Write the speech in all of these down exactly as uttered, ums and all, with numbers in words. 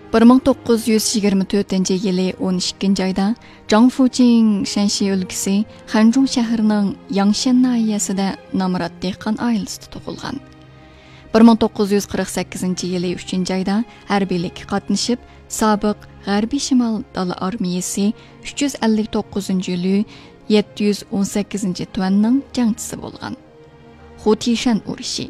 بىر مىڭ توققۇز يۈز يىگىرمە تۆتىنچى يىلى ئون ئىككىنچى ئايدا جاڭ فۇچىڭ شەنشى ئۆلكىسى خەنجۇڭ شەھىرىنىڭ ياڭشەن ناھىيەسىدە نامرات دېھقان ئائىلىسىدە تۇغۇلغان. بىر مىڭ توققۇز يۈز قىرىق سەككىزىنچى يىلى ئۈچىنچى ئايدا ھەربىيلىككە قاتنىشىپ، سابىق غەربىي شىمال دالا ئارمىيىسى ئۈچ يۈز ئەللىك توققۇزىنچى لۈ يەتتە يۈز ئون سەككىزىنچى تۈەننىڭ جەڭچىسى بولغان. خۇتىشەن ئۇرۇشى،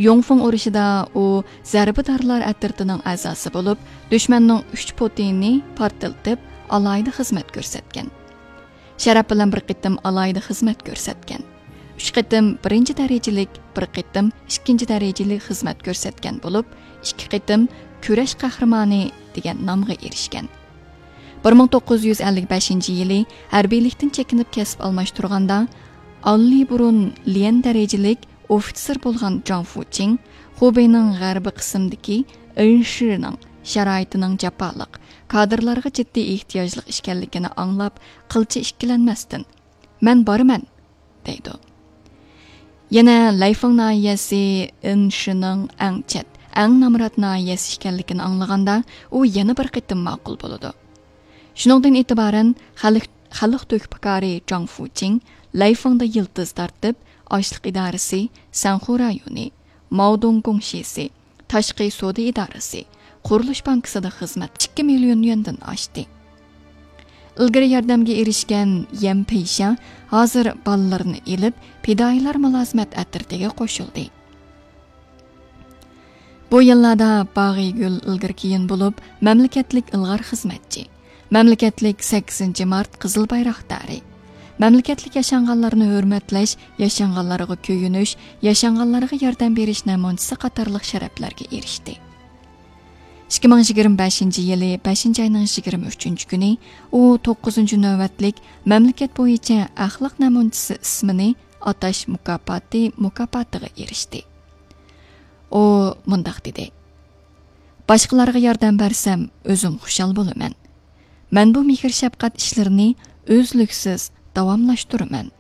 يۇڭفېڭ ئۇرۇشىدا ئۇ زەربىدارلار ئەترىتىنىڭ ئەزاسى بولۇپ، دۈشمەننىڭ ئۈچ پوتىنىنى پارتلىتىپ، ئالاھىدە خىزمەت كۆرسەتكەن. شەرەپ بىلەن بىر قېتىم ئالاھىدە خىزمەت كۆرسەتكەن. ئۈچ قېتىم بىرىنچى دەرىجىلىك، بىر قېتىم ئىككىنچى دەرىجىلىك خىزمەت كۆرسەتكەن بولۇپ، ئىككى قېتىم كۈرەش قەھرىمانى دېگەن نامغا ئېرىشكەن. بىر مىڭ توققۇز يۈز ئەللىك بەشىنچى يىلى ھەربىيلىكتىن چېكىنىپ كەسىپ ئالماشتۇرغاندا، ئاللىبۇرۇن ليەن دەرىجىلىك ئوفىتسېر بولغان جاڭ فۇچىڭ خۇبېينىڭ غەربىي قىسمىدىكى ئېنشىنىڭ شارائىتىنىڭ جاپالىق، كادىرلارغا جىددىي ئېھتىياجلىق ئىكەنلىكىنى ئاڭلاپ، قىلچە ئىككىلەنمەستىن، «مەن بارىمەن» دەيدۇ. يەنە لەيفېڭ ناھىيەسى ئېنشىنىڭ ئەڭ چەت، ئەڭ نامرات ناھىيەسى ئىكەنلىكىنى ئاڭلىغاندا، ئۇ يەنە بىر قېتىم ماقۇل بولىدۇ. شۇنىڭدىن ئېتىبارەن خەلق، خەلق تۆھپىكارى جاڭ فۇچىڭ لەيفېڭدا يىلتىز تارتىپ، ئاشلىق ئىدارىسى، سەنخۇ رايونى، ماۋدۇڭ گۇڭشىسى، تاشقى سودا ئىدارىسى، قۇرۇلۇش بانكىسىدا خىزمەت ئىككى مىليون يۈەندىن ئاشتى. ئىلگىرى ياردەمگە ئېرىشكەن يەن پېيشا ھازىر بالىلىرىنى ئېلىپ، پىدائىيلار مۇلازىمەت ئەترىتىگە قوشۇلدى. بۇ يىللاردا باغىگۈل ئىلگىرى كېيىن بولۇپ، مەملىكەتلىك ئىلغار خىزمەتچى، مەملىكەتلىك سەككىزىنچى مارت قىزىل بايراقدارى، مەملىكەتلىك ياشانغانلارنى ھۆرمەتلەش، ياشانغانلارغا كۆيۈنۈش، ياشانغانلارغا ياردەم بېرىش نەمۇنىچىسى قاتارلىق شەرەپلەرگە ئېرىشتى. ئىككى مىڭ يىگىرمە بەشىنچى يىلى بەشىنچى ئاينىڭ يىگىرمە ئۈچىنچى كۈنى ئۇ توققۇزىنچى نۆۋەتلىك مەملىكەت بويىچە ئەخلاق نەمۇنىچىسى ئىسمىنى ئاتاش مۇكاپاتى مۇكاپاتىغا ئېرىشتى. ئۇ مۇنداق دېدى: «باشقىلارغا ياردەم بەرسەم، ئۆزۈم خۇشال بولىمەن. مەن بۇ مېھىر-شەپقەت ئىشلىرىنى ئۈزلۈكسىز داۋاملاشتۇرىمەن.»